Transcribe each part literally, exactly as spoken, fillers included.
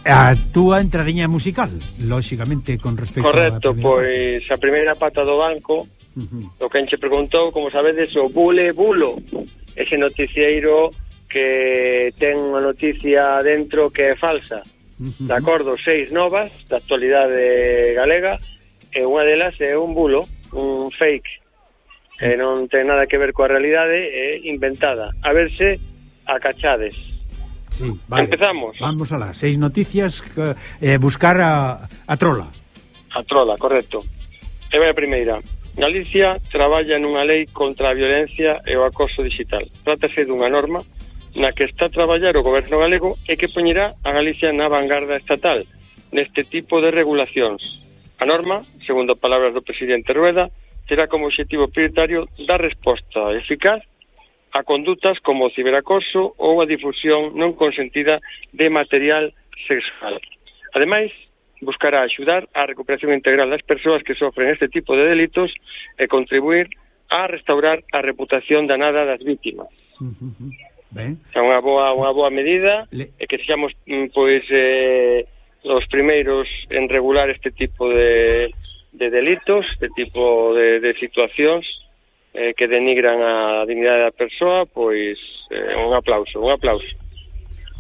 A túa entradiña musical, lóxicamente, con respecto Correcto, a pois a primeira pata do banco, uh-huh. O que enche preguntou, como sabedes, o Bule Bulo, ese noticieiro que ten unha noticia dentro que é falsa, uh-huh. De acordo, seis novas da actualidade galega, e unha delas é un bulo, un fake, que non ten nada que ver coa realidade, é inventada. A ver se a cachades. Sí, vale. Empezamos. Vamos alá, seis noticias, eh, buscar a, a trola. A trola, correcto. E vai a primeira. Galicia traballa nunha lei contra a violencia e o acoso digital. Trátase dunha norma na que está a traballar o goberno galego e que poñerá a Galicia na vanguarda estatal neste tipo de regulacións. A norma, segundo palabras do presidente Rueda, terá como objetivo prioritario dar resposta eficaz a condutas como o ciberacoso ou a difusión non consentida de material sexual. Ademais, buscará axudar á recuperación integral das persoas que sofren este tipo de delitos e contribuir a restaurar a reputación danada das vítimas. Uh-huh. Ben. É unha boa, unha boa medida Le... e que sexamos pois eh, os primeiros en regular este tipo de, de delitos, este tipo de, de situacións eh, que denigran a dignidade da persoa, pois eh, un aplauso, un aplauso.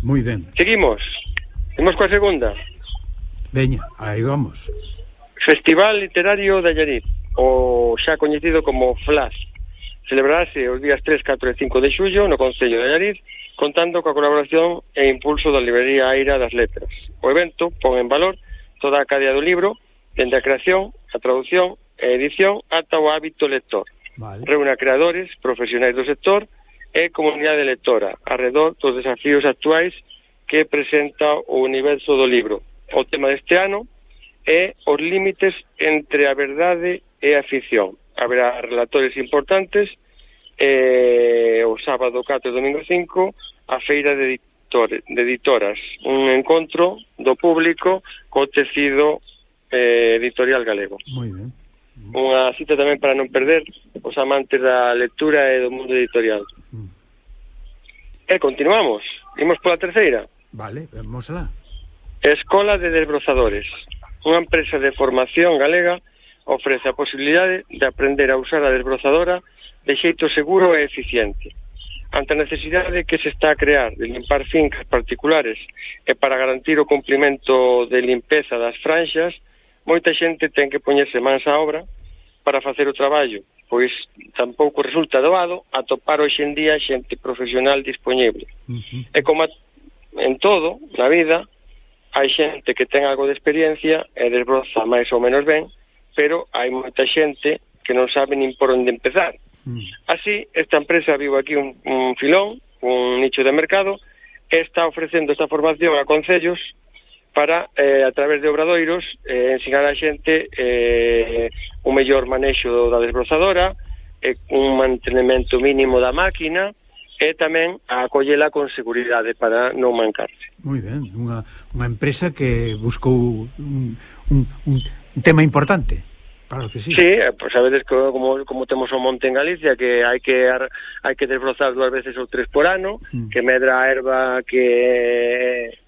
Moi ben. Seguimos. Imos coa segunda. Veña, aí vamos. Festival Literario de Allariz, o xa coñecido como FLAS. Celebrarase os días tres, catro e cinco de xullo no Concello de Allariz, contando coa colaboración e impulso da librería Aira das Letras. O evento pon en valor toda a cadea do libro, dende a creación, a traducción e edición ata o hábito lector. Vale. Reúne a creadores, profesionais do sector e comunidade lectora arredor dos desafíos actuais que presenta o universo do libro. O tema deste ano é os límites entre a verdade e a ficción. Haberá relatores importantes e o sábado catro e domingo cinco a feira de, editores, de editoras, un encontro do público co tecido eh, editorial galego. Moi ben. Unha cita tamén para non perder os amantes da lectura e do mundo editorial. Mm. E continuamos. Imos pola terceira. Vale, vamos alá. Escola de Desbrozadores. Unha empresa de formación galega ofrece a posibilidade de aprender a usar a desbrozadora de xeito seguro e eficiente. Ante a necesidade que se está a crear de limpar fincas particulares e para garantir o cumprimento de limpeza das franxas, moita xente ten que poñerse mans á obra para facer o traballo, pois tampouco resulta doado atopar hoxe en día xente profesional dispoñible. Uh-huh. E como en todo, na vida, hai xente que ten algo de experiencia e desbroza máis ou menos ben, pero hai moita xente que non sabe nin por onde empezar. Uh-huh. Así, esta empresa viu aquí un, un filón, un nicho de mercado, e está ofrecendo esta formación a concellos para, eh, a través de obradoiros, eh, ensinar a xente eh, un mellor manexo da desbrozadora, eh, un mantenimento mínimo da máquina e tamén a acollela con seguridade para non mancarse. Moi ben, unha, unha empresa que buscou un, un, un tema importante. Claro que sí. Sí, pues sabedes que como, como temos o monte en Galicia, que hai que hai que desbrozar dúas veces ou tres por ano, sí. Que medra a erva que...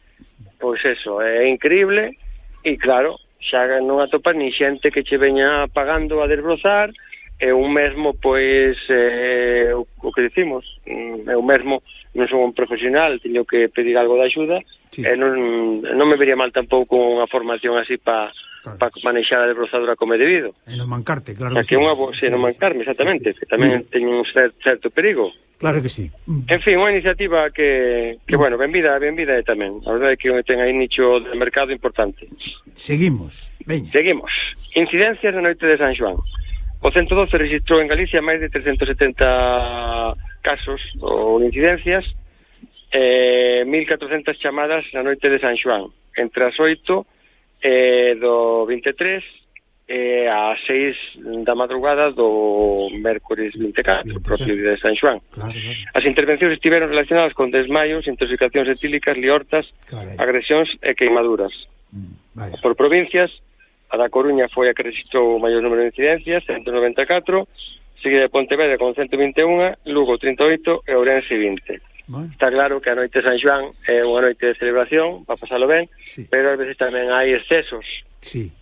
Pois eso, é increíble e claro, xa non atopas ni xente que che veña pagando a desbrozar e un mesmo, pois eh, o, o que dicimos eu mesmo non son un profesional, teño que pedir algo de axuda, sí. E non, non me vería mal tampouco unha formación así para claro. Pa manexar a desbrozadora como é debido e non mancarte, claro que, que sí. Unha, se non mancarme, exactamente, sí, sí. Que tamén sí. Teño un certo, certo perigo. Claro que sí. En fin, unha iniciativa que, que bueno, benvida, benvida é tamén. A verdade é que ten aí nicho de mercado importante. Seguimos, veña. Seguimos. Incidencias na noite de San Xoán. O ciento doce registrou en Galicia máis de trescentos setenta casos ou incidencias, eh, mil catrocentas chamadas na noite de San Xoán, entre as oito eh, do vinte e tres e a seis da madrugada do mércores vinte e catro, propio día de San Xoán. Claro, claro. As intervencións estiveron relacionadas con desmaios, intoxicacións etílicas, liortas, claro, agresións e queimaduras. Mm, Por provincias, a da Coruña foi a que registrou o maior número de incidencias, ciento noventa e catro, seguida de Pontevedra con ciento vinte e un, Lugo trinta e oito e Ourense vinte. Bueno. Está claro que a noite de San Xoán é unha noite de celebración para pasalo ben, sí. pero ás veces tamén hai excesos. Sí.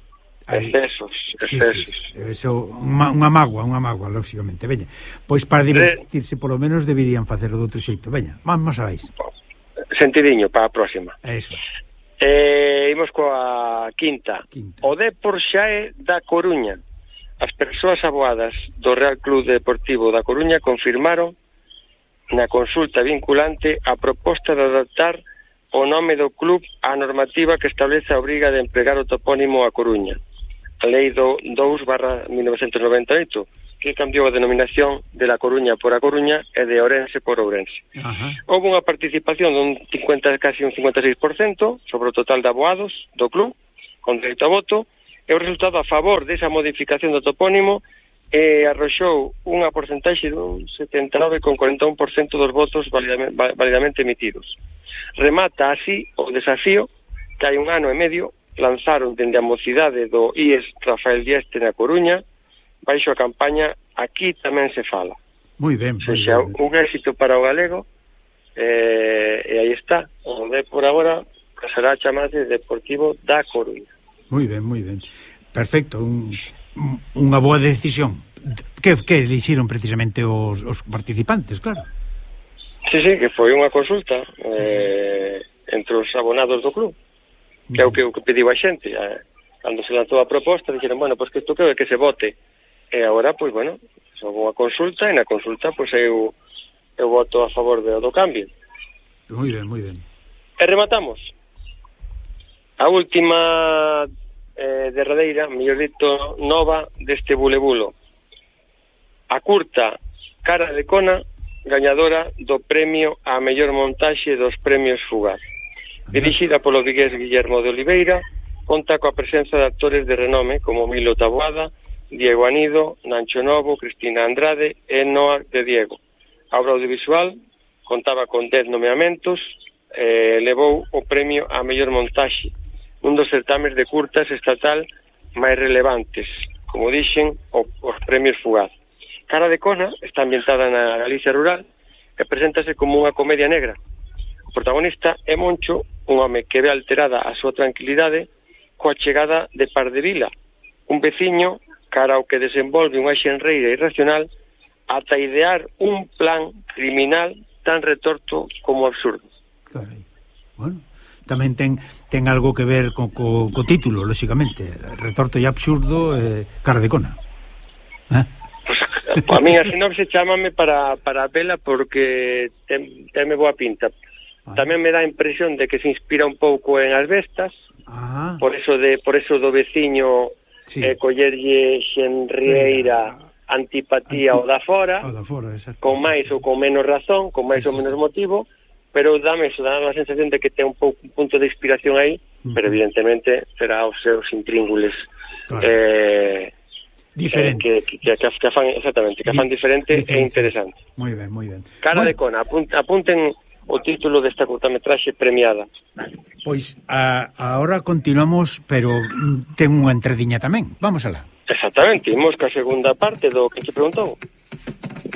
Hai... Excesos, excesos. Sí, sí. Eso, unha, unha mágoa, unha mágoa, lógicamente. Veña, pois para divertirse, polo menos deberían facelo de outro xeito. Veña, vamos a veis. Sentidiño para a próxima. Eso. Eh, imos coa quinta. quinta. O Depor xa é da Coruña. As persoas aboadas do Real Club Deportivo da Coruña confirmaron na consulta vinculante a proposta de adaptar o nome do club á normativa que establece a obriga de empregar o topónimo a Coruña, a Lei do dous barra mil novecentos noventa e oito, que cambiou a denominación de La Coruña por A Coruña e de Ourense por Ourense. Ajá. Houve unha participación dun cincuenta, casi un cincuenta e seis por cento sobre o total de aboados do club, con dereito a voto, e o resultado a favor desa modificación do topónimo eh, arroxou unha porcentaxe dun setenta e nove coma cuarenta e un por cento dos votos validamente, validamente emitidos. Remata así o desafío que hai un ano e medio lanzaron dende a mocidade do I E S Rafael Dieste na Coruña baixo a campaña Aquí tamén se fala. Moi ben. Se xa un éxito para o galego eh, e aí está. O de por agora pasará a chamarse Deportivo da Coruña. Moi ben, moi ben. Perfecto, un, unha boa decisión. Que, que elixiron precisamente os, os participantes, claro. Sí, sí, que foi unha consulta eh, entre os abonados do club, que é o que, o que pediu a xente. Eh, cando se lanzou a proposta, dixeron, bueno, pois pues que isto que, que se vote. E agora, pois, pues, bueno, houve unha consulta, e na consulta, pois, pues, eu, eu voto a favor do, do cambio. Moi ben, moi ben. E rematamos. A última eh, derradeira, mellor dito, nova deste bulebulo. A curta Cara de Cona, gañadora do premio á mellor montaxe dos premios Fugaz. Dirixida polo vigués Guillermo de Oliveira, conta coa presenza de actores de renome como Milo Taboada, Diego Anido, Nancho Novo, Cristina Andrade e Noa de Diego. A obra audiovisual contaba con dez nomeamentos e eh, levou o premio á mellor montaxe, un dos certames de curtas estatal máis relevantes, como dixen, o, os premios Fugaz. Cara de Cona está ambientada na Galicia rural e preséntase como unha comedia negra. O protagonista é Moncho, un home que ve alterada a súa tranquilidade coa chegada de Pardevila, un veciño cara ao que desenvolve unha xenreira irracional ata idear un plan criminal tan retorto como absurdo. Carai. Bueno, tamén ten ten algo que ver co, co, co título, lógicamente, retorto e absurdo, eh, Cara de Cona. Eh? Pues, a mí a sinopse chámame para, para vela porque ten, tenme boa pinta. Ah. Tamén me dá a impresión de que se inspira un pouco en As Bestas, ah. por eso de por eso do veciño sí. eh, collerlle xenrieira antipatía Anti... o da fora, o da fora con máis sí, sí. ou con menos razón, con máis sí, ou menos sí. motivo, pero dame eso, dame a sensación de que ten un, pouco, un punto de inspiración aí, uh-huh. pero evidentemente será os seus intríngules claro. eh, diferente eh, que, que, que, que fan, exactamente, que fan diferente e interesante. Moi ben, moi ben. Cara bueno. de Cona, apunten, apunten o título desta curtametraxe premiada. Pois a, ahora continuamos, pero ten unha entradiña tamén. Vamos alá. Exactamente, imos ca segunda parte do que se preguntou.